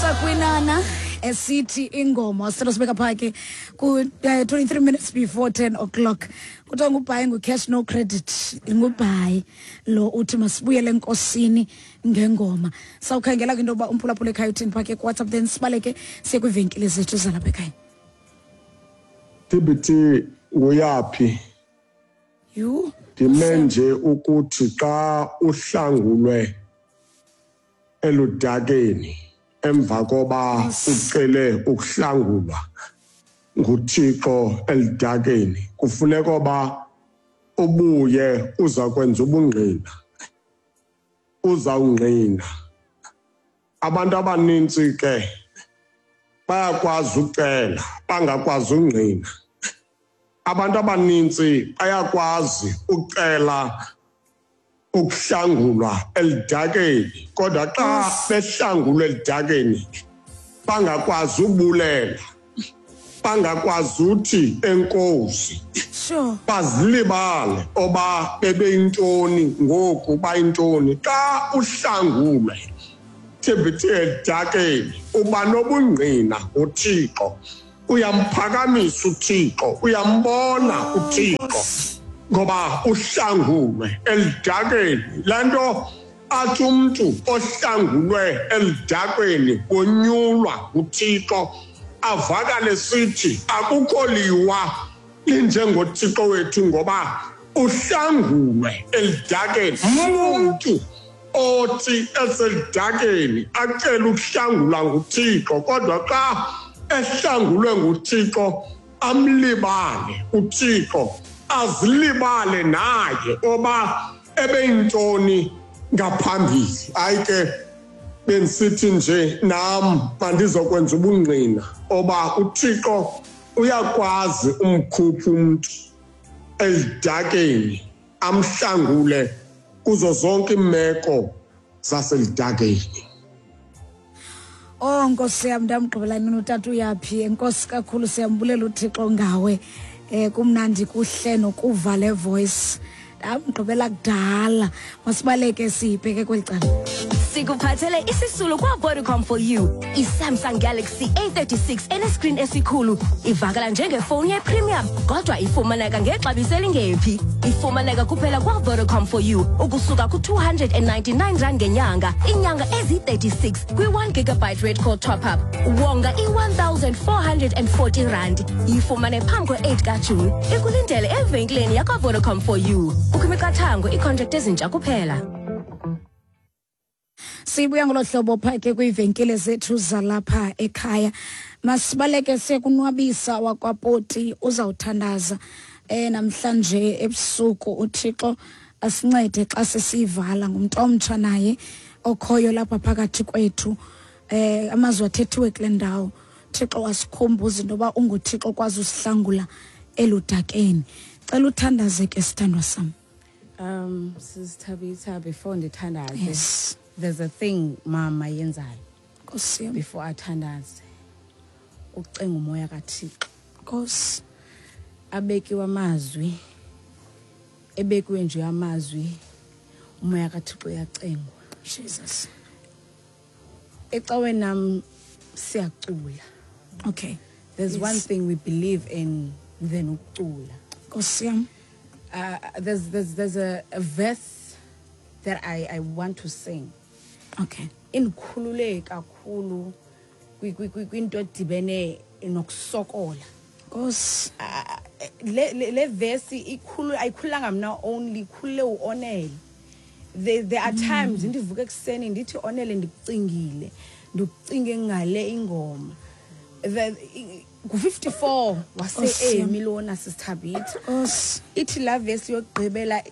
Sakwinana esithi ingoma sicela sibeka phaa ke ku-23 minutes before 10 o'clock. Kuthiwa ngubhayi, ngu-cash no credit, ngubhayi lo uthi masibuyele enkosini ngengoma. Sawukhangela kwinto yoba umphulaphula ekhaya uthini phaa ke kuWhatsApp, then sibaleke siye kwiivenkile zethu zalapha ekhaya. TBT nguyaphi? Yhu. Ndime nje ukuthi xa uhlangulwe eludakeni emva koba ucele ukuhlangulwa nguThixo eludakeni, kufuneka oba ubuye uza kwenza ubungqina, uzawungqina. Abantu abanintsi ke bayakwazi ucela bangakwazi ungqina. Abantu abanintsi bayakwazi ucela ukuhlangulwa elidakeni, kodwa xa behlangulwa elidakeni bangakwazi ubulela, bangakwazi uthi enkosi. Bazilibale oba bebeyintoni ngoku bayintoni. Xa uhlangulwe TBT elidakeni uba nobungqina ngoThixo, uyamphakamisa uThixo, uyambona uThixo ngoba uhlangulwe elidakeni. Le nto athi umntu ohlangulwe elidakeni wonyulwa nguThixo avakale sithi akukho liwa linjengoThixo wethu ngoba uhlangulwe elidakeni. Umntu othi eselidakeni acele ukuhlangulwa nguThixo, kodwa xa ehlangulwe nguThixo amlibale uThixo, azilibale naye oba ebeyintoni ngaphambili. Hayi ke, bendisithi nje nam mandizokwenza ubungqina oba uThixo uyakwazi umkhupha umntu elidakeni amhlangule kuzo zonke iimeko zaselidakeni. Oh Nkosi yam, ndamgqibela nini utata uyaphi. Enkosi kakhulu, siyambulela uThixo ngawe. Kumnandi kuhle nokuva le voice. Ndamgqibela kudala. Masibaleke sibheke kweli cala. Sikuphathele isisulu kwa-Vodacom for you. I-Samsung Galaxy A36 enescreen esikhulu ivakala njengefowuni ye-premium, kodwa ifumaneka ngexabiso elingephi. Ifumaneka kuphela kwa-Vodacom for you ukusuka ku-299 rand ngenyanga, iinyanga ezi-36 kwi-1 gigabyte red call top-up. Wonga i-1440 rand. Yifumane phambi kwe-8 kaJuni. Ikulindele evenkileni yakwa-Vodacom for you. Kukho imiqathango, iicontract ezintsha kuphela. Sibuya ngolo hlobo phaa ke kwiivenkile zethu zalapha ekhaya. Masibaleke sekunwabisa wakwaPoti, uzawuthandaza namhlanje ebusuku. uThixo asincede xa sesivala. Ngumntu omtsha naye okhoyo lapha phakathi kwethu. Amazwi athethiwe kule ndawo, Thixo wasikhumbuza into yoba unguThixo okwazi usihlangula eludakeni. Cela uthandaze ke, sithandwa sam. Sis Thabitha, before ndithandaze, Yes. there's a thing mama yenzayo. Nkosi yam. Before athandaze, ucenga umoya kaThixo. Nkosi. Abekiwe amazwi, ebekiwe nje amazwi, umoya kaThixo uyacengwa. Jesus. Ecaweni nam siyacula. Okay. There's Yes. one thing we believe in than ukucula. Nkosi yam. There's a verse that I want to sing. Okay. Indikhulule kakhulu kwinto edibene nokusokola. Nkosi. Le verse ikhulu, ayikhulanga mna only, ikhulule uOnele. There are times ndivuka ekuseni ndithi Onele ndikucingile, ndikucinge ngale ingoma. Ngu-54 wase Nkosi yam. Emi lona, Sis Thabitha. Nkosi. Ithi la verse yokugqibela